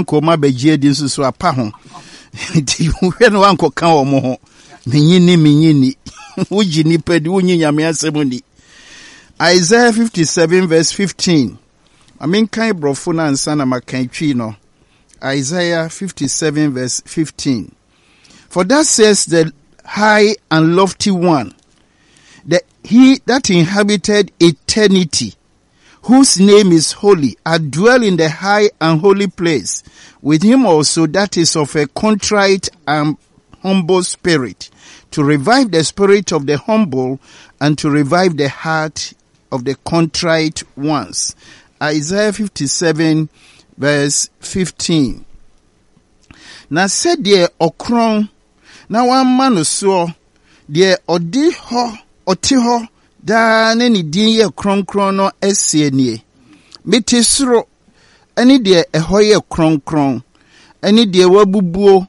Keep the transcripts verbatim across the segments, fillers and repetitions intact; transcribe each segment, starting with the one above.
Nka wɔn abɛgye adi nso so apa ho. Nti wohwɛ no wankɔka wɔn ho. Menyi ni, menyi ni. Wogye nipa di, wonyi Nyame asɛm ni. Isaiah fifty-seven verse fifteen. Ma menkan borɔfo no ansa na makan Twi no. Isaiah fifty-seven verse fifteen. For thus says the high and lofty one, the he that inhabited eternity, whose name is holy, I dwell in the high and holy place, with him also that is of a contrite and humble spirit, to revive the spirit of the humble and to revive the heart of the contrite ones. Isaiah fifty-seven verse fifteen. Na sɛdeɛ ɔkorɔn na wamma no soɔ, deɛ ɔde hɔ, ɔte hɔ daa ne ne din yɛ kronkron no asie nie. Mete soro ɛne deɛ ɛhɔ yɛ kronkron, ɛne deɛ wabubuo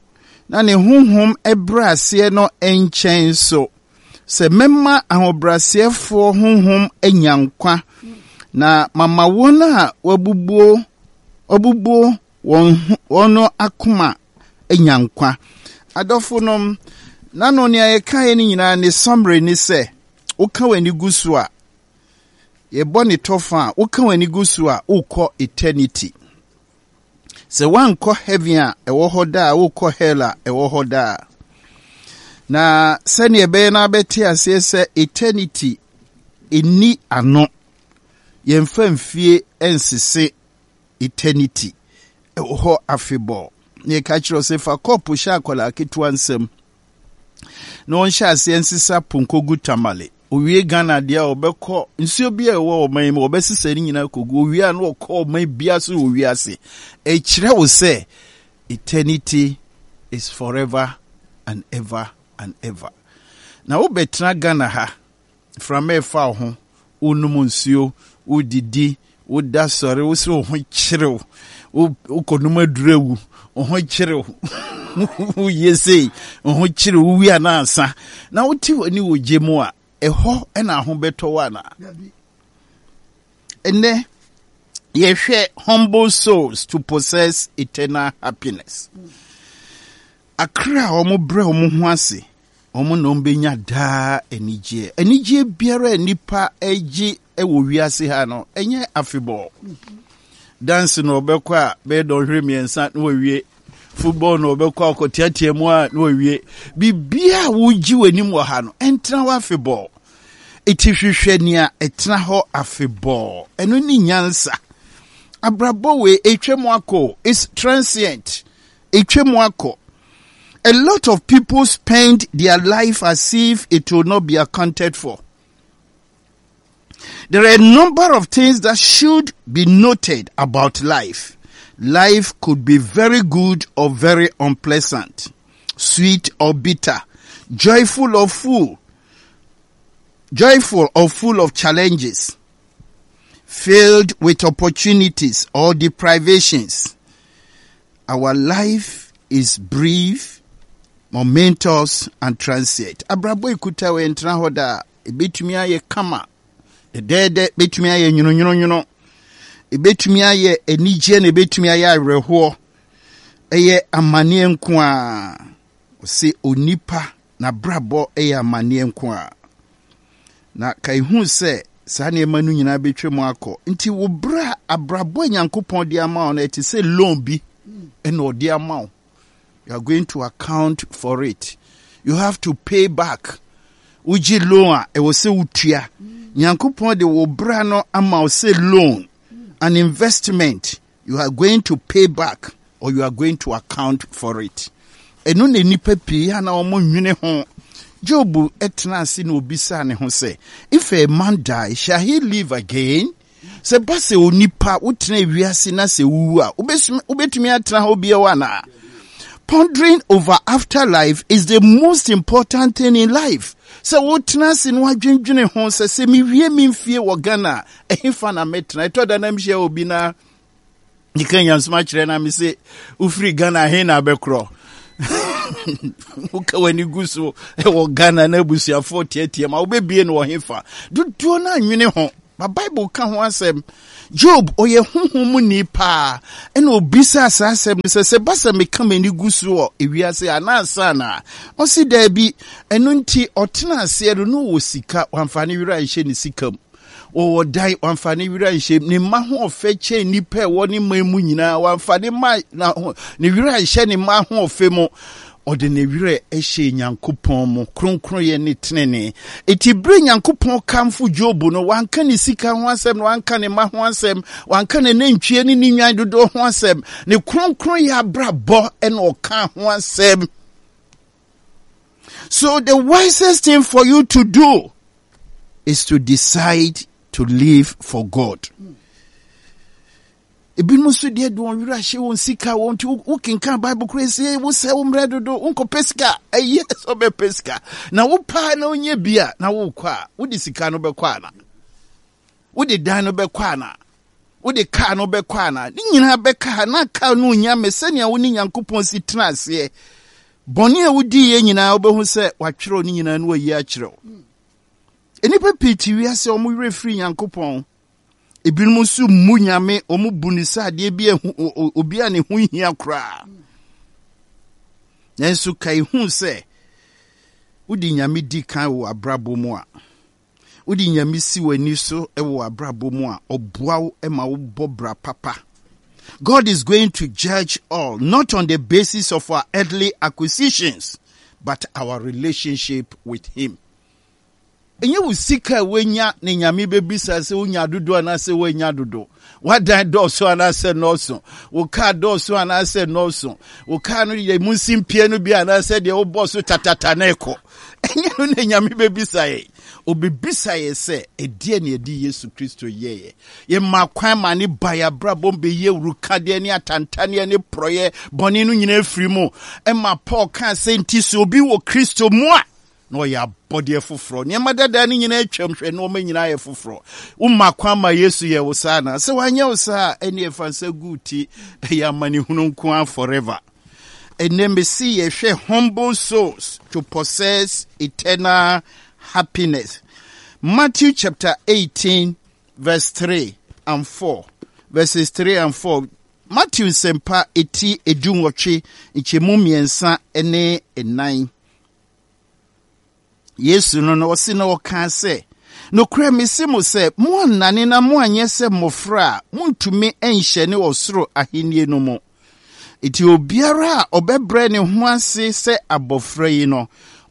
na ne honhom ɛbrɛ aseɛ no nkyɛn so. Sɛ mɛma ahobrɛaseɛfoɔ honhom anya nkwa, na mama wɔn a wabubuo, wabubuo wɔn ho, wɔn no akoma anya nkwa. Adɔfo nom, nano nea yɛkaeɛ no nyinaa ne summary ne sɛ, woka w'ani gu so a, yɛbɔ ne tɔfa a, woka w'ani gu so a, wokɔ eternity. Sɛ woankɔ heaven a ɛwɔ hɔ daa, wokɔ hell a ɛwɔ hɔ daa. Na sɛnea ɛbɛyɛ na abɛte aseɛ sɛ eternity ɛnni ano, yɛmfa mfie nsese eternity ɛwɔ hɔ afebɔɔ. Na yɛka kyerɛ sɛ fa kɔɔpo hyɛ akwadaa ketewa nsam na ɔnhyɛ aseɛ nsesa ponko gu Tamale. Owie Ghana deɛ a, ɔbɛkɔ nsuo bi a ɛwɔ ɔman yi mu, ɔbɛsesa ne nyinaa kɔgu. Owie a, na ɔkɔ ɔman bia so wɔ wiase. Ɛkyerɛ wo sɛ eternity is forever and ever and ever. Na wobɛtena Ghana ha, mframa ɛfa wo ho, wonom nsuo, wodidi, woda sɔre, wo sɛ wo ho kyerew, wokɔnom aduru awu, wo ho kyerew, woyɛ sei, wo ho kyerew, wowie anaasa. Na wote w'ani wɔ gye mu a, ɛhɔ ɛna aho bɛtɔ wo anaa? Ɛnɛ, yɛhwɛ humble souls to possess eternal happiness. Akra a wɔn brɛ wɔn ho ase, wɔn na wɔn bɛnya daa anigyeɛ. Anigyeɛ biara a nipa agye wɔ wiase ha no, ɛnyɛ afebɔɔ. Dance na ɔbɛkɔ a bɛyɛ dɔnhwere mmiɛnsa na wawie. Football na ɔbɛkɔ akɔteatea mu a na wawie. Biribiara a wogye w'anim wɔ ha no, ɛntena hɔ afebɔɔ. Eti hwehwɛ nea ɛtena hɔ afebɔɔ. Ɛno ne nyansa. Abrabɔ wei etwa mu akɔ. It's transient. Etwa mu akɔ. A lot of people spend their life as if it will not be accounted for. There are a number of things that should be noted about life. Life could be very good or very unpleasant, sweet or bitter, joyful or full, joyful or full of challenges, filled with opportunities or deprivations. Our life is brief, momentous, and transient. Abrabɔ ekuta wɔ ntena hɔ da, ebetumi ayɛ kama, dɛdɛɛdɛ, betumi ayɛ nwononwononwono, ebetumi ayɛ anigye na ebetumi ayɛ awerɛhoɔ. Ɛyɛ amanneɛ nko a. Ɔse onipa n'abrabɔ yɛ amanneɛ nko a. Na ka ehu sɛ saa nneɛma no nyinaa bɛtwa mu akɔ. Nti wo berɛ a abrabɔ a Nyankopɔn de ama wo no, ɛte sɛ loan bi ɛna ɔde ama wo. You are going to account for it. You have to pay back. Wogye loan a, ɛwɔ sɛ wotua. Nyankopɔn de wo bra no ama wo sɛ loan, an investment. You are going to pay back or you are going to account for it. Ɛno na nnipa pii a na wɔn nwene ho. Job tena ase na obisaa ne ho sɛ, if a man die, shall he live again? Sɛ ba sɛ onipa wotena wiase na sɛ wuwu a, wobɛtumi atena hɔ bio anaa? Pondering over afterlife is the most important thing in life. Sɛ wotena ase na wadwendwene ho sɛ sɛ mewie me mfie wɔ Ghana a, ɛhefa na mɛtena? Ɛtɔ da na mehyia obi na nika nyansoma kyerɛ na me se wofiri Ghana he na abɛkorɔ? Woka w'ani gu so ɛwɔ Ghana na abusuafoɔ teatea ma wobɛbie no wɔ hefa? Dodoɔ no anwene ho. Ba Bible ka ho asɛm. Job, ɔyɛ honhom mu ni paa, ɛna obisaa saa asɛm no sɛ, sɛ ba sɛ meka m'ani gu so wɔ ewiase anaa ansa na ɔsi daabi. Ɛno nti ɔtena aseɛ no na ɔwɔ sika, wamfa ne werɛ anhyɛ ne sika mu. Wɔwɔ dan, wamfa ne werɛ anhyɛ mu. Ne mma ho ɔfɛ kyɛn nnipa a ɛwɔ ne man mu nyinaa, wamfa ne mma na ne werɛ anhyɛ ne mma ho ɔfɛ mu. Ɔde ne werɛ hyɛɛ Nyankopɔn mu, kronkronyɛ ne tenenee. Enti bere Nyankopɔn kamfo Job no, wanka ne sika ho asɛm, na wanka ne mma ho asɛm, wanka ne nantwie ne ne nnwan dodoɔ ho asɛm. Ne kronkronyɛ abrabɔ na ɔka ho asɛm. So the wisest thing for you to do is to decide to live for God. Ebinom nso deɛ de wɔn werɛ ahyɛ wɔn sika wɔn nti wokenkan Bible koraa sie wosɛ wo mmerɛ dodo wonkɔpɛ sika. Ɛyɛ sɛ wobɛpɛ sika na wopaa na wonyɛ bi a na wokɔ a, wode sika no bɛkɔ ana? Wode dan no bɛkɔ ana? Wode kaa no bɛkɔ ana? Ne nyinaa bɛka ha na kaa no nya me sɛnea wo ne Nyankopɔn si tena aseɛ. Bɔne a wodiiɛ nyinaa wobɛhu sɛ watwerɛ ne nyinaa no wayi akyerɛ wo. Nnipa pii te wiase a wɔn werɛ firi Nyankopɔn. Ebinom nso mmu Nyame, wɔn bu no sɛ adeɛ bi a obi a ne ho hia koraa. Nanso kae hu sɛ wode Nyame di kan wɔ abrabɔ mu a, wode Nyame si w'ani so wɔ abrabɔ mu a, ɔboa wo ma wobɔ bra papa. God is going to judge all, not on the basis of our earthly acquisitions, but our relationship with Him. Ɛnyɛ wo sika a woanya ne Nyame bɛbisa sɛ wonya dodo anaasɛ woanya dodo. W'adan dɔɔso anaasɛ nnɔɔso. Wo kaa dɔɔso anaasɛ nnɔɔso. Wo kaa no yɛ mu nsimpie no bi anaasɛ deɛ wobɔ so tatata na ɛkɔ. Ɛnyɛ no na Nyame bɛbisa yɛn. Ɔbɛbisa yɛn sɛ, ɛdeɛ ne ɛde Yesu Kristo yɛeɛ? Yɛma kwan ma ne ba yɛn abrabɔ mu bɛyi awurukadeɛ ne atantaneɛ ne porɔeɛ bɔne no nyinaa firi mu. Ɛma Paul kaa sɛ, nti sɛ obi wɔ Kristo mu a, na ɔyɛ abɔdeɛ foforɔ. Nneɛma dada no nyinaa atwam, hwɛ, nneɛma nyinaa yɛ foforɔ. Woma kwan ma Yesu yɛ wo saa na sɛ wanyɛ wo saa a, ɛne ɛfa nsa gu ti, ɛyɛ amanehunu nko ara forever. Ɛnɛ mesi yɛhwɛ humble souls to possess eternal happiness. Matthew chapter eighteen verse three and four. Verses three and four. Matthew nsɛmpa eti edu nwɔtwe nkyɛmu mmiɛnsa ne nnan. Yesu no na ɔse na ɔkaa sɛ, Nokorɛ mese mo sɛ, moannane na moanyɛ sɛ mmɔfra a, montumi nhyɛne ɔsoro ahennie no mu. Enti obiara a ɔbɛbrɛ ne ho ase sɛ abɔfra yi no,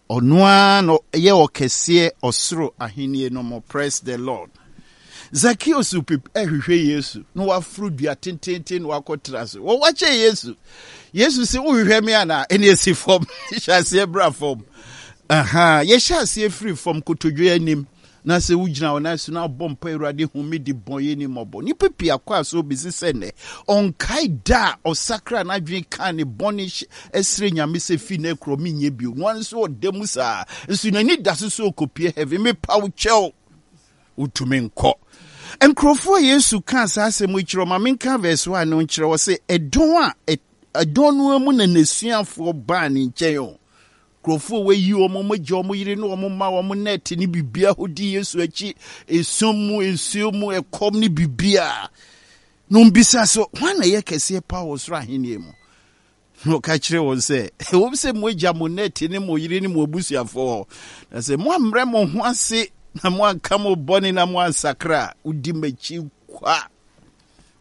ɔno ara na ɔyɛ ɔkɛseɛ ɔsoro ahennie no mu. Praise the Lord. Zakeus hwehwɛ Yesu na waforo dua tententen na wakɔtra so. Wɔwakyɛ Yesu. Yesu sɛ wohwehwɛ me anaa? Ɛne ɛsi fam. Hyɛ aseɛ bra fam. Aha, yɛhyɛ aseɛ firi fam kotodwe anim. Na sɛ wogyina wo nan so na abɔ mpa, Awurade hu me de bɔnyɛ ni mmɔbɔ. Nnipa pii akɔ aso bɛsi sɛ nnɛ ɔnkae da a ɔsakra n'adwene kaa ne bɔne ɛsrɛ Nyame sɛ fi nnɛ korɔ menyɛ bio. No ara nso ɔda mu saa. Nso n'ani da so sɛ ɔkɔpie heaven. Mepa wo kyɛw. Wotumi nkɔ. Nkurɔfoɔ a Yesu kaa saa asɛm yi kyerɛ, ma menka verse one no nkyerɛ wɔ sɛ ɛdɔn a ɛdɔn no mu na n'asuafoɔ baa ne nkyɛn o. Nkurɔfoɔ a wɔayi wɔn, wɔn agya, wɔn yere ne wɔn mma, wɔn nɛɛte ne biribiara hɔ di Yesu akyi, esum mu, nsuo mu, ɛkɔm ne biribiara. Na wɔbisa sɛ, hwan na ɛyɛ kɛseɛ paa wɔ soro ahennie mu? Na ɔka kyerɛɛ wɔn sɛ, Ɛwom sɛ moagya mo nnɛte ne mo yere ne mo abusuafoɔ hɔ, na sɛ moammrɛ mo ho ase na moanka mo bɔne na moansakra a, wodi m'akyi kwa,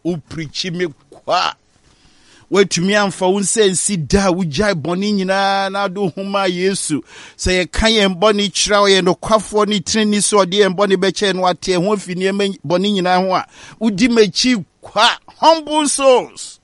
wopirikyi me kwa. Woatumi amfa wo nsa nsi da a wogyae bɔne nyinaa na ade ho maa Yesu. Sɛ yɛka yɛn bɔne kyerɛ a, ɔyɛ nokwafoɔ ne teneni sɛ ɔde yɛn bɔne bɛkyɛ no ate ɛho afi nneɛma bɔne nyinaa ho a, wodi m'akyi kwa. Humble souls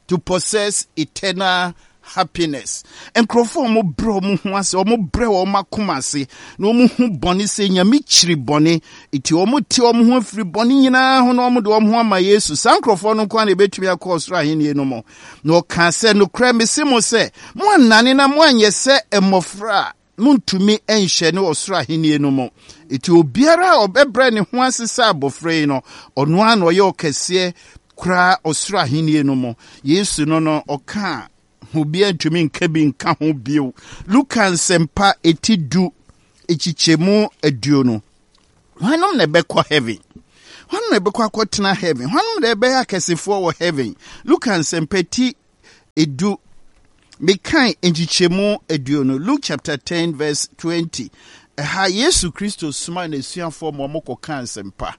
to possess eternal happiness. Nkurɔfoɔ a wɔbrɛ wɔn ho ase, wɔbrɛ wɔn akoma ase, na wɔhu bɔne sɛ Nyame kyiri bɔne, nti wɔte wɔn ho afiri bɔne nyinaa ho na wɔde wɔn ho ama Yesu. Saa nkurɔfoɔ no nko ara na ɛbɛtumi akɔ ɔsoro ahennie no mu. Na ɔkaa sɛ, Nokorɛ mese mo sɛ, moannane na moanyɛ sɛ mmɔfra a, montumi nhyɛne ɔsoro ahennie no mu. Enti obiara a ɔbɛbrɛ ne ho ase sɛ abɔfra yi no, ɔno ara na ɔyɛ ɔkɛseɛ koraa ɔsoro ahennie no mu. Yesu no no, ɔkaa obiara ntumi nka bi nka ho bio. Luka Nsɛmpa eti du, ekyikyɛmu aduonu. Hwanom na ɛbɛkɔ heaven? Hwan na ɛbɛkɔ akɔtena heaven? Hwan na ɛbɛyɛ akɛsefoɔ wɔ heaven? Luka Nsɛmpa ti edu, mekan nkyekyɛmu aduonu, Luke chapter ten verse twenty. Ɛha Yesu Kristo soma n'asuafoɔ ma wɔn kɔka nsɛmpa.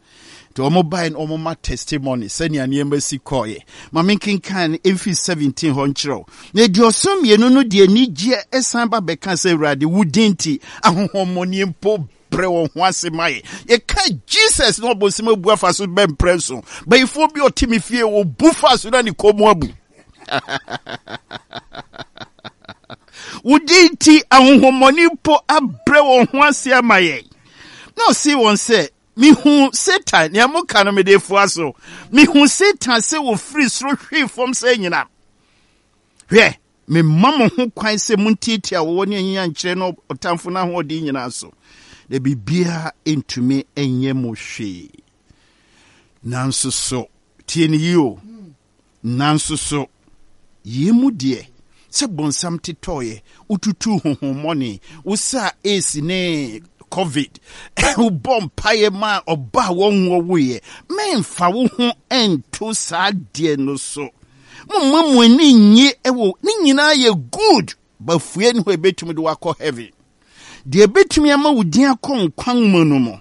Nti wɔn bae no, wɔn ma testimony sɛnea nneɛma si kɔɔeɛ. Ma menkenkan no mfiri seventeen hɔ nkyerɛw. Na aduɔson mmienu no de anigyeɛ ɛsan ba bɛka sɛ, Awurade, wo din nti ahonhommɔne mpo brɛ wɔn ho ase ma yɛ. Yɛka Jesus na ɔbɔnsɛm abu afa so bɛmprɛ so. Bayifoɔ bi ɔte me fie, ɔbu fa so na ne kɔn mu abu. Wo din nti ahonhommɔne mpo abrɛ wɔn ho ase ama yɛn. Na ɔse wɔn sɛ, mihu Satan, nea moka no mede foa so. Mihu Satan sɛ wɔfiri soro hwee fam sɛ anyinam. Hwɛ, memma mo ho kwan sɛ montiatia wɔwɔ ne anyinya nkyerɛ no ɔtamfo no ahoɔden nyinaa so, na biribiara ntumi nyɛ mo hwee. Nanso so, tie ne yie o, nanso so, yei mu deɛ, sɛ bonsam tetɔeɛ, wotutuu honhommɔne, wosaa AIDS ne COVID, wobɔ mpaeɛ ma ɔba a wɔnwoɔ woeɛ, mɛmfa wo ho nto saa deɛ no so. Momma mo ani nnye wɔ ne nyinaa yɛ good, bafue ne hɔ ebetumi de wakɔ heaven. Deɛ ebetumi ama wo din akɔ nkwa nwoma no mu.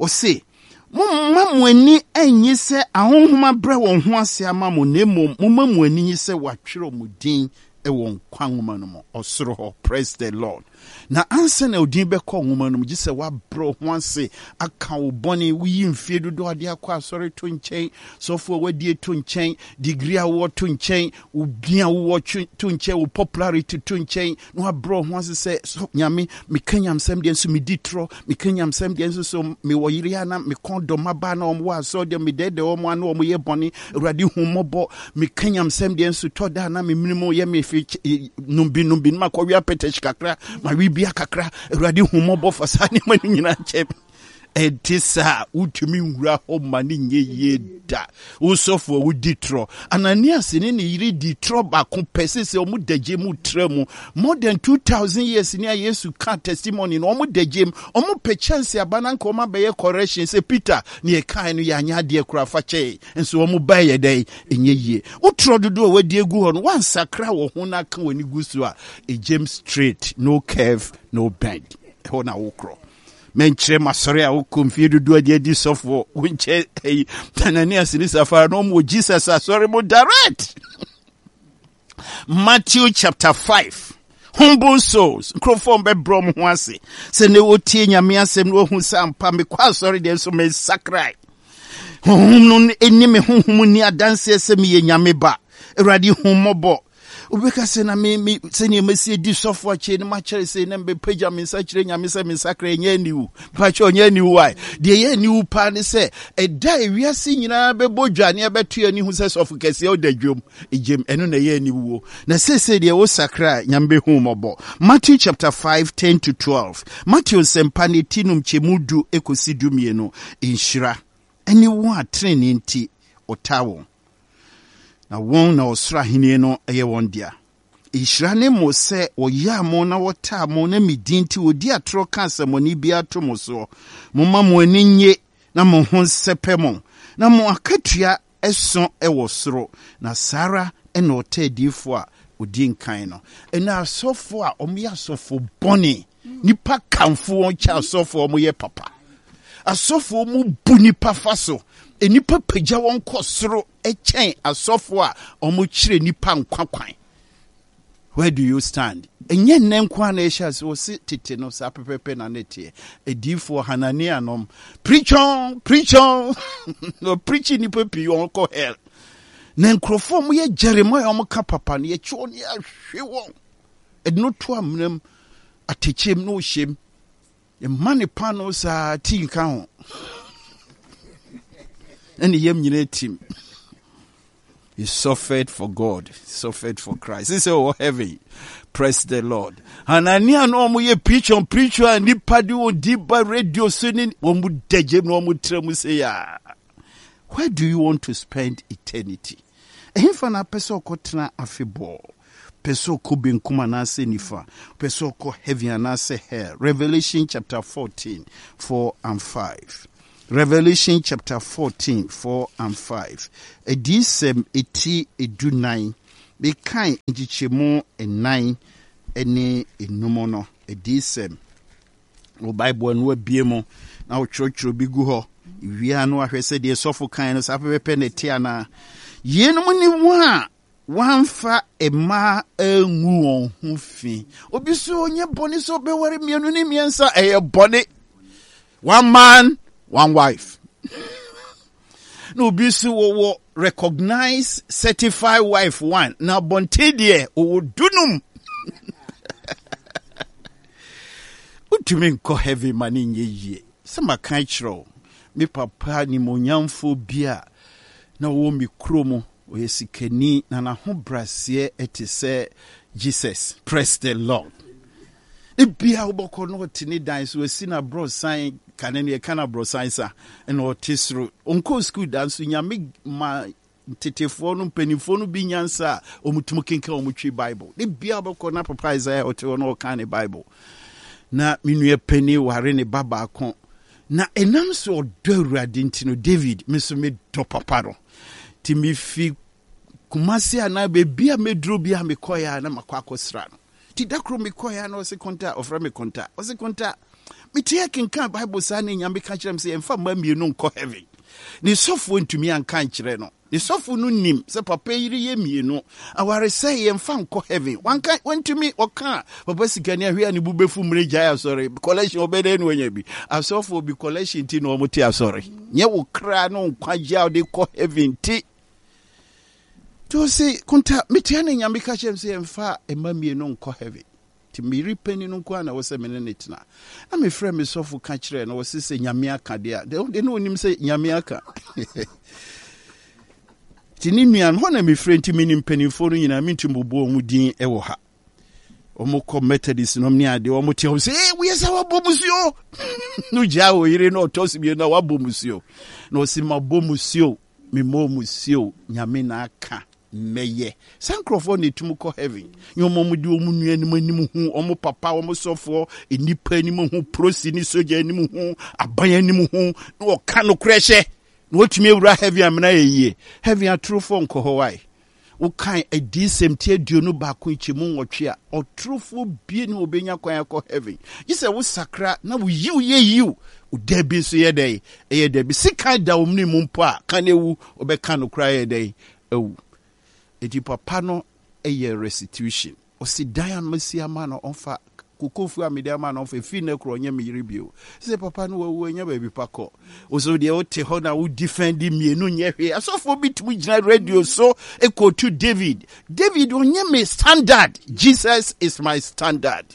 Ɔse, momma mo ani nnye sɛ ahonhom abrɛ wɔn ho ase ama mo, na mmom momma mo ani nye sɛ wɔatwerɛ mo din wɔ nkwa nwoma no mu, ɔsoro hɔ. Praise the Lord. Na ansa na odin bɛkɔ nwoma no mu, gye sɛ woabrɛ ho ase aka wo bɔne, woyi mfie dodoɔ ade akɔ asɔre to nkyɛn, sɔfo a wadie to nkyɛn, degree a wowɔ to nkyɛn, wo din a wowɔ to nkyɛn, wo popularity to nkyɛn, na wabrɛ ho ase sɛ, so Nyame, meka nyamsɛm deɛ nso medi torɔ, meka nyamsɛm deɛ nso so mewɔ yere a na mekɔn dɔ mmabaa na wɔn wɔ asɔre deɛ medɛɛdɛ wɔn a na wɔn yɛ bɔne, Awurade hu mmɔbɔ, meka nyamsɛm deɛ nso tɔ da na memene mu yɛ me fi numbi numbi na makɔwe apɛtɛhyi kakra, mawe bia kakra, Awurade hu mmɔbɔ, fa saa nneɛma no nyinaa kyɛ me. Ɛnte saa, wotumi nwura hɔ ma ne nyɛ yie da. Wo sɔfo a wodi torɔ. Ananias ne ne yere di torɔ baako pɛ sɛ sɛ wɔn da gye mu tra mu. More than two thousand years ni a Yesu ka testimony no, wɔn da gye mu. Wɔn pɛ chance aba na nka wɔn abɛyɛ correction sɛ Peter ne yɛkae no yɛanyɛ adeɛ koraa fa kyɛe. Nso wɔn ba yɛ dɛn? Ɛnyɛ yie. Wo torɔ dodoɔ a wadi agu hɔ no, wansakra wɔ ho na aka w'ani gu so a, ɛgyem straight, no curve, no bend. Ɛhɔ na wokorɔ. Menkyerɛ m'asɔre a wokɔ mfie dodoɔ adi adi sɔfoɔ wonkyɛ ɛyi Ananias ne Safara na ɔmo wɔ Jesus asɔre mu direct. Matthew chapter five, humble souls, nkurɔfoɔ bɛbrɛ ɔmo ho ase sɛ ne wɔtie Nyame asɛm na wɔhu sɛ ampa mekɔ asɔre deɛ nso mensakrae. Honhom no ɛni me honhom ni adanseɛ sɛ meyɛ Nyame ba. Awurade hu mmɔbɔ. Wobɛka sɛ na me me sɛnea masi adi sɔfo akyɛ no makyerɛ sɛ na mebɛpagya me nsa kyerɛ Nyame sɛ me nsakra ɛnyɛ aniwu. Mpakyɛ ɔnyɛ aniwu ae. Deɛ ɛyɛ aniwu paa ne sɛ ɛda a ewiase nyinaa bɛbɔ dwa ne ɛbɛto ani hu sɛ sɔfo kɛseɛ ɔda dwom egyem, ɛno na ɛyɛ aniwuo. Na seesei deɛ wosakra a Nyame bɛhu mmɔbɔ. Matthew chapter five ten to twelve. Matthew nsɛmpa ne ti num kyɛmu du ekosi du mmienu. Nhyira ɛne wɔn a tenenee nti ɔtaa wɔn, na wɔn na ɔsoro ahenni no yɛ wɔn dea. Nhyira ne mo sɛ wɔyaa mo na wɔtaa mo na me din nti wɔdi atorɔ ka asɛmmɔne biara to mo soɔ. Momma mo ani nnye na mo ho nsɛpɛ mo, na mo akatua ɛso wɔ soro, na saa ara na ɔtaa adiyifoɔ a wɔdi nkan no. Ɛnna asɔfoɔ a wɔyɛ asɔfo bɔne, nipa kamfo wɔn kyɛ asɔfoɔ a wɔyɛ papa. Asɔfoɔ mu bu nipa fa so, nnipa pagya wɔn kɔ soro kyɛn asɔfoɔ a wɔkyerɛ nipa nkwa kwan. Where do you stand? Ɛnyɛ nnɛ nko ara na ɛhyɛ ase, wɔse tete no saa pɛpɛpɛ na ne teɛ. Adiyifoɔ Hanania nom, preach on, preach on. Na ɔpreachi nnipa pii wɔn kɔ hell. Na nkurɔfoɔ a wɔyɛ Jeremiah wɔn ka papa no, yɛkye wɔn yɛahwe wɔn. Ɛde no to amena mu, atɛkyɛm na ɔhyɛm. Mma ne paanoo saa tii nka ho. Ɛne yam nyinaa tim. He suffered for God, he suffered for Christ. He said, oh, heaven, praise the Lord. Hanania no ɔmo yɛ preach on preach on nipa de wɔn di ba radio so ne wɔn mu dagye na wɔn tira mu sɛ ya. Where do you want to spend eternity? Ɛhefa na apɛ sɛ ɔkɔtena afebɔɔ? Pɛ sɛ ɔkɔ benkum anaasɛ nifa? Pɛ sɛ ɔkɔ heaven anaasɛ hell? Revelation chapter fourteen, four and five. Revelation chapter fourteen, four and five. Adiyisɛm eti edunan, mekan nkyekyɛmu nnan ne enum no. Adiyisɛm. Wo Bible no abie mu na wotwerɛtwerɛ bi gu hɔ. Wia no ahwɛ sɛ deɛ sɔfo kan no saa pɛpɛpɛ na ɛte anaa. Yeinom ne wɔn a wɔamfa mmaa angu wɔn ho fi. Obi so ɔnyɛ bɔne sɛ ɔbɛware mmienu ne mmiɛnsa, ɛyɛ bɔne. One man, one wife. Na obi so wɔwɔ recognized certified wife one, na abɔnten deɛ ɔwɔ dunum. Wotumi nkɔ heaven ma ne nyɛ yie. Sɛ maka kyerɛ wo, me papa nimonyamfoɔ bi a na ɔwɔ me kurom, ɔyɛ sikani na n'ahobraseɛ te sɛ Jesus. Praise the Lord. Ebia wobɛkɔ na ɔte ne dan so, asi n'aborɔsan, kane no yɛka no aborɔsan sa, ɛna ɔte soro. Ɔnkɔɔ sukuu da nso, Nyame ma ntetefoɔ no, mpanimfoɔ no bi nyansa a wɔtumi kenkan wɔn twi Bible. Ebia wobɛkɔ na papa Isaiah ɔte hɔ na ɔka ne Bible. Na me nua panin ware ne ba baako. Na ɛnam sɛ ɔdɔ Awurade nti no, David, me nso medɔ papa no. Nti mefi Kumasi anaa baabi a meduro bi a mekɔeɛ a na makɔ akɔsra no. Nti da koro mekɔeɛ a na ɔse Konta, ɔfrɛ me Konta. Ɔse Konta, mete akenkan Bible saa na Nyame ka kyerɛ me sɛ yɛmfa mma mmienu nkɔ heaven. Ne sɔfoɔ ntumi anka nkyerɛ no. Ne sɔfo no nim sɛ papa yere yɛ mmienu. Awaresɛe yɛmfa nkɔ heaven. Wanka, wantumi, ɔka papa sikani ahwɛ a ne bu bɛfu mmerɛ gyae asɔre. Collection ɔbɛdɛn na wanya bi. Asɔfoɔ bi collection ti na wɔn te asɔre. Nyɛ wo kra ne nkwagye a wode kɔ heaven ti. Nti ɔse, Konta, metia ne Nyame ka kyerɛ me sɛ yɛmfa mma mmienu nkɔ heaven. Nti me yere panin no nko ara na ɛwɔ sɛ me ne no tena. Na mefrɛ me sɔfo ka kyerɛɛ no, ɔse sɛ Nyame aka deɛ a, deɛ na ɔnim sɛ Nyame aka. Nti ne nua no, hɔ na mefrɛ, nti menim mpanimfoɔ no nyinaa, mentumi bobɔ wɔn din wɔ ha. Wɔn kɔ Methodist nom ne adeɛ, wɔn te hɔ sɛ, ee, woyɛ sɛ wabɔ musuo. No gyaa wɔ yere no ɔtɔ so mmienu na wabɔ musuo. Na ɔse mabɔ musuo, memmɔ musuo, Nyame na aka. Mɛyɛ. Saa nkurɔfoɔ na ɛtumi kɔ heaven. Nyɛ wɔn a wɔde wɔn nuanom anim hu, wɔn papa, wɔn sɔfoɔ, nnipa anim hu, polisi ne sogya anim hu, aban anim hu, na wɔka nokorɛ hyɛ, na wɔtumi awura heaven amena yɛ yie. Heaven atorofoɔ nkɔ hɔ wae. Wokan Adiyisɛm ti aduonu baako nkyɛmu nwɔtwe a, ɔtorofoɔ bie ne wɔbɛnya kwan akɔ heaven. Gye sɛ wosakra na wo yiw yɛ yiw, wo dabi nso yɛ dɛn? Ɛyɛ dabi. Sekan da wo mene mu mpo a, ka na ewu, wobɛka nokorɛ ayɛ dɛn? Awu. Enti papa no yɛ restitution. Ɔsi dan a masi ama no ɔmfa, kokofuo a mede ama no ɔmfa, ɛfiri nnɛ korɔ ɔnyɛ me yere bio. Sɛ papa no wawu anya baabi pa kɔ. Wo so deɛ wote hɔ na wo defend mmienu nyɛ hwee. Asɔfoɔ bi tumi gyina radio so kɔtu David. David ɔnyɛ me standard. Jesus is my standard.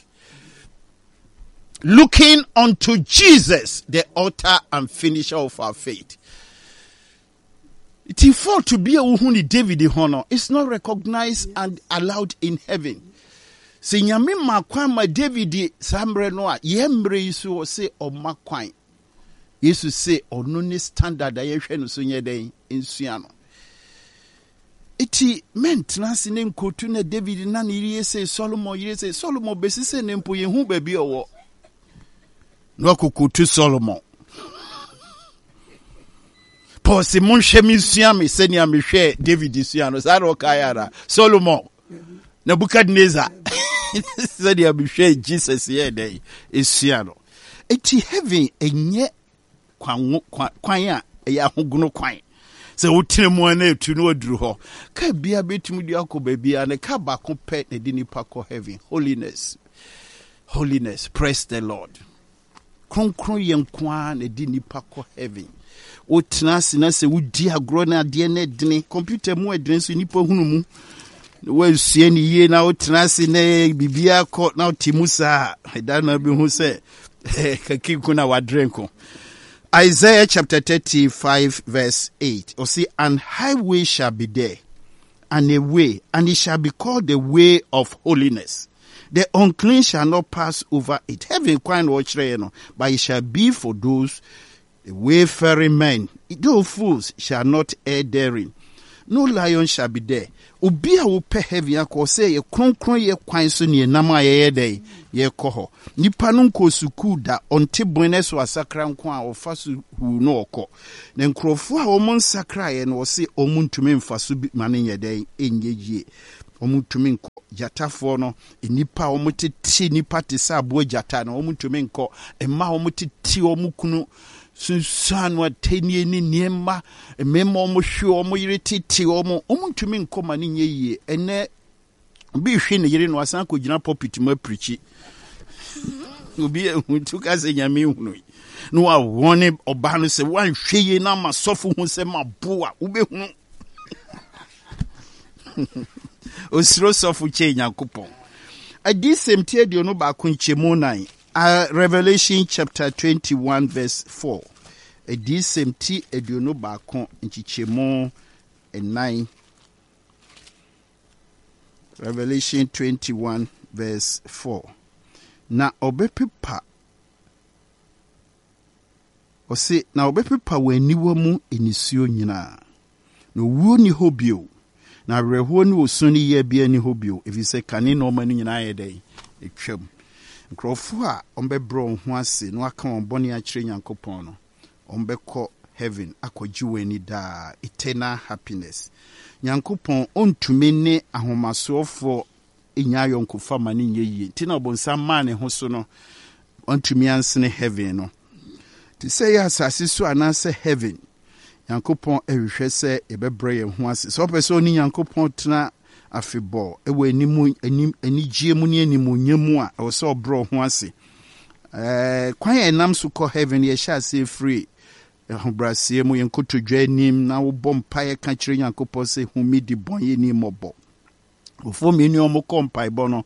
Looking unto Jesus, the author and finisher of our faith. Nti fault bi a wohu ne David ho no, it's not recognized and allowed in heaven. Sɛ Nyame ma kwan ma David saa mmerɛ no a, yɛn mmerɛ yi so ɔse ɔma kwan. Yesu se ɔno ne standard a yɛhwɛ no so nyɛ dɛn nsua no. Eti mɛntena ase ne nkotu na David na ne yere se Solomon yere se Solomon bɛsi sɛ ne mpo yɛhu baabi ɔwɔ. Na wakokotu Solomon. Paul se monhwɛ me nsua me sɛnea mehwɛ David sua no. Saa na ɔkaeɛ ara. Solomon, Nebuchadnezzar, sɛnea mehwɛ Jesus yɛ dɛn esua no. Eti heaven ɛnyɛ kwan kwan a ɛyɛ ahogono kwan. Sɛ wotena mu a na etu na waduru hɔ. Kaa bia betumi de akɔ baabi a ne kaa baako pɛ na ɛde nipa kɔ heaven. Holiness. Holiness. Praise the Lord. Kronkron yɛ nko ara na ɛde nipa kɔ heaven. Wotena ase na sɛ wodi agorɔ na adeɛ no ɛdene, kɔmputa mu ɛdene nso nipa hunu mu. Na woansua ne yie na wotena ase na biribiara kɔ na wote mu saa a, ɛda na bɛhu sɛ kakinko na wadrɛ nko. Isaiah chapter thirty-five verse eight. Ɔse, and highway shall be there, and a way, and it shall be called the way of holiness. The unclean shall not pass over it. Heaven kwan na ɔkyerɛɛ no, but it shall be for those wayfaring men. Though fools shall not err therein. No lion shall be there. Obi a wopɛ heaven akɔ, sɛ yɛ kronkron yɛ kwan so ne yɛnam a yɛyɛ dɛn yɛkɔ hɔ. Nipa no nkɔ sukuu da, ɔnte bɔn no so asakra nko a ɔfa so huu no ɔkɔ. Na nkurɔfoɔ a wɔn nsakraeɛ no, wɔse wɔn ntumi mfa so bi ma no nyɛ dɛn ɛnyɛ yie. Wɔn ntumi nkɔ. Gyatafoɔ no, nnipa a wɔn tete nipa te sɛ aboa gyata no, wɔn ntumi nkɔ. Mmaa a wɔn tete wɔn kunu sunsuan no atɛnie ne nneɛma, mmarima a wɔn hwe wɔn yere tete wɔn, wɔn ntumi nkɔ ma no nyɛ yie. Ɛnɛ obi hwe ne yere no, asan akɔgyina pulpit mu apirikyi. Obi ehu tu ka sɛ Nyame ehunu yi na wawɔ ne ɔbaa no sɛ wanhwɛ yie na ama sɔfo hu sɛ ma bo a wobɛhunu. Osuro sɔfo kyɛn Nyankopɔn. Adiyisɛm ti aduonu baako nkyɛmu nan, uh, Revelation chapter twenty-one verse four. Adiyisɛm ti aduonu baako nkyekyɛmu nnan. Revelation twenty-one verse four. Na ɔbɛpepa, ɔse na ɔbɛpepa wɔn aniwa mu nisuo nyinaa, na owuo ni hɔ bio, na awerɛhoɔ ne osu ne yea biara ni hɔ bio, ɛfiri sɛ kane nneɛma no nyinaa yɛ dɛn atwam. Nkurɔfoɔ a wɔbɛbrɛ wɔn ho ase na wɔaka wɔn bɔne akyerɛ Nyankopɔn no, wɔbɛkɔ heaven akɔgye wɔn ani daa, eternal happiness. Nyankopɔn ɔntumi ne ahomasoɔfoɔ nya ayɔnkofa ma no nyɛ yie, nti na ɔbonsam maa ne ho so no, ɔntumi ansene heaven no. Te sɛ yɛ asase so anaasɛ heaven, Nyankopɔn ɛhwehwɛ sɛ yɛbɛbrɛ yɛn ho ase. Sɛ wopɛ sɛ ɔne Nyankopɔn tena afebɔɔ ɛwɔ anim anim anigyeɛ mu ne animuonyam mu a, ɛwɔ sɛ ɔbrɛ wo ho ase. Ɛɛ kwan a ɛnam so kɔ heaven, yɛhyɛ ase firi ahobrɛaseɛ mu, yɛn kotodwe anim na wobɔ mpaeɛ ka kyerɛ Nyankopɔn sɛ hu me di bɔne ni mmɔbɔ. Nkurɔfoɔ mmienu a wɔkɔ mpaebɔ no,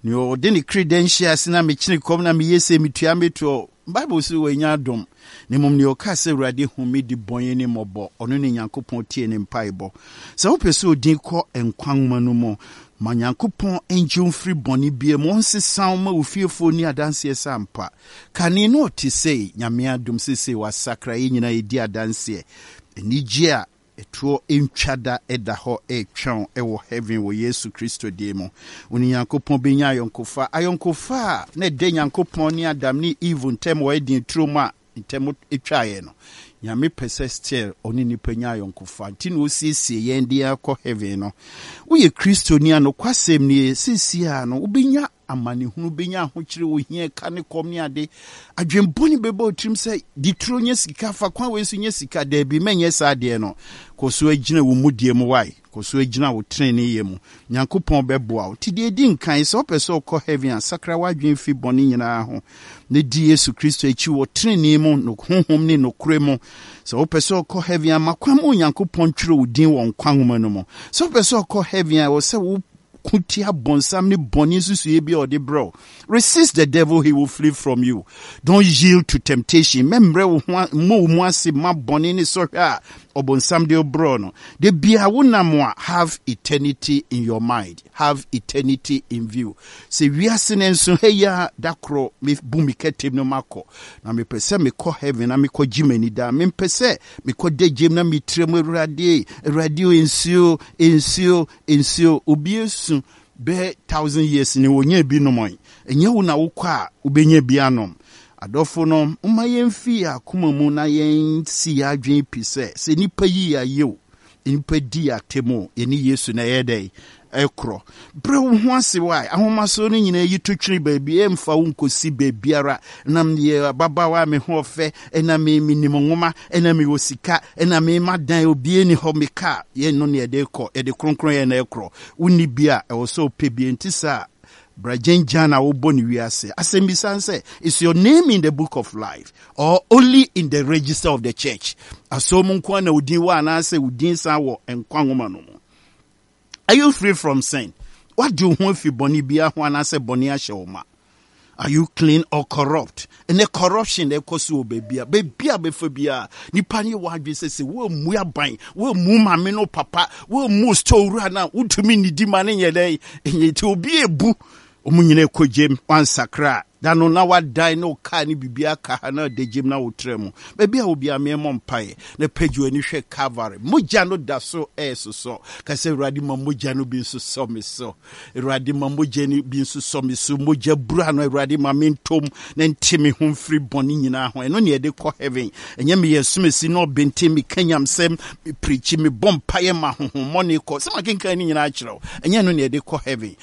nea ɔde ne credentials na mekyene kɔm na meyɛ sɛ metua metoɔ, Bible sɛ wanya adom. Na mmom nea ɔka sɛ Awurade hu me di bɔne ni mmɔbɔ, ɔno ne Nyankopɔn tie ne mpaebɔ. Sɛ wopɛ sɛ odin kɔ nkwa nwoma no mu, ma Nyankopɔn ngye wo mfiri bɔne bia mu, ɔnsesa wo ma wo fiefoɔ ni adanseɛ sɛ ampa kane no ɔte sei. Nyame adom, seesei wasakra, yɛn nyinaa yɛdi adanseɛ. Anigye a ɛtoɔ ntwa da ɛda hɔ ɛretwɛn ɛwɔ heaven wɔ Yesu Kristo din mu. Wo ne Nyankopɔn bɛnya ayɔnkofa, ayɔnkofa a na ɛda Nyankopɔn ne Adam ne Eve ntam wɔ Eden turo mu a ntam atwaeɛ no. Nyame pɛ sɛ still ɔne nipa nya ayɔnkofa, nti na ɔsiesie yɛn de akɔ heaven no. Woyɛ Kristoni a, nokwasɛm nie, seesie a no wobɛnya amanehunu, bɛnya ahokyere, ohia, ka ne kɔm ne ade. Adwembɔne bɛbɔ wo tirim sɛ di turo nyɛ sika, fa kwan wei so nyɛ sika. Daabi, mɛnyɛ saa adeɛ no. Kɔ so agyina wo mudie mu wae, kɔ so agyina wo tenenee mu, Nyankopɔn bɛboa wo. Nti deɛ ɛdi nkan, sɛ wopɛ sɛ wokɔ heaven a, sakra w'adwene fi bɔne nyinaa ho na di Yesu Kristo akyi wɔ tenenee mu no, honhom ne nokorɛ mu. Sɛ wopɛ sɛ wokɔ heaven a, ma kwan ma Onyankopɔn twerɛ wo din wɔ nkwa nwoma no mu. Sɛ wopɛ sɛ wokɔ heaven a, ɛwɔ sɛ wo ko tia bɔnsam ne bɔne nsusuiɛ bi a ɔde brɛ wo. Resist the devil, he will flee from you. Don't yield to temptation. Mɛmmerɛ wo ho, mmɔ wo mu ase ma bɔne ne sɔhwɛ a ɔbɔnsam de brɛ no. De bia wonam a, have eternity in your mind, have eternity in view. Sɛ wiase no nso ha yi a, da korɔ mebu me kɛtɛm no makɔ, na mepɛ sɛ mekɔ heaven na mekɔgye m'ani daa. Mempɛ sɛ mekɔ da gyem na metire mu, Awurade, Awurade, nsuo, nsuo, nsuo. Obi esu bɛɛ thousand years ni wɔnyɛ bi nom. Ɛnyɛ wo na wokɔ a wobɛnya bi anom. Adɔfo no, momma yɛmfi yɛn akoma mu na yɛnsi yɛn adwene pi sɛ sɛ nnipa yi yɛ ayɛ o, nnipa di yɛ atɛm o, yɛne Yesu na ɛyɛ dɛn ɛkorɔ. Brɛ wo ho ase wae. Ahomasoɔ no nyinaa yi to twene baabi, ɛmfa wo nkɔsi baabiara. Nam yɛ ababaawa a me ho ɔfɛ, ɛna me menim nwoma, ɛna mewɔ sika, ɛna me ma dan obie ni hɔ, me kaa yɛn no ne yɛde kɔ, yɛde kronkron yɛn na ɛkorɔ. Wonni bi a, ɛwɔ sɛ wopɛ bi. Nti saa bragyenjan na wobɔ ne wiase. Asɛm bi san sɛ, is your name in the book of life or only in the register of the church? Asɔm mu nko na odin wɔ anaasɛ odin san wɔ nkwa nwoma no mu? Are you free from sin? Wade wo ho afi bɔne biara ho anaasɛ bɔne ahyɛ wo ma? Are you clean or corrupt? Ɛnɛ corruption na ɛkɔ so wɔ baabi a baabi a bɛfa biara, nipa ne wɔ adwene sɛ sɛ wɔmmu aban, wɔmmu maame no papa, wɔmmu store wura no a, wotumi nnidi ma ne nyɛ dɛn ɛnyɛ. Nti obi ebu wɔn nyinaa kɔ gyem wansakra a Da no na wadan ne wo kaa ne biribi aka ha na ɔda gyem na wotrɛ mu. Baabi a wobia meɛmmɔ mpaeɛ na pagye w'ani hwɛ Calvary. Mogya no da so ɛɛsosɔ. Ka sɛ, "Awurade, ma mogya no bi nso sɔ me so. Awurade, ma mogya no bi nso sɔ me so. Mogya bura no, Awurade, ma mentom na nte me ho mfiri bɔne nyinaa ho." Ɛno ne yɛde kɔ heaven. Ɛnyɛ meyɛ somasi na ɔbɛnte, meka nyamsɛm, mepirikyi, mebɔ mpaeɛ ma honhommɔne kɔ sɛ makenkan no nyinaa kyerɛ wo. Ɛnyɛ no ne yɛde kɔ heaven.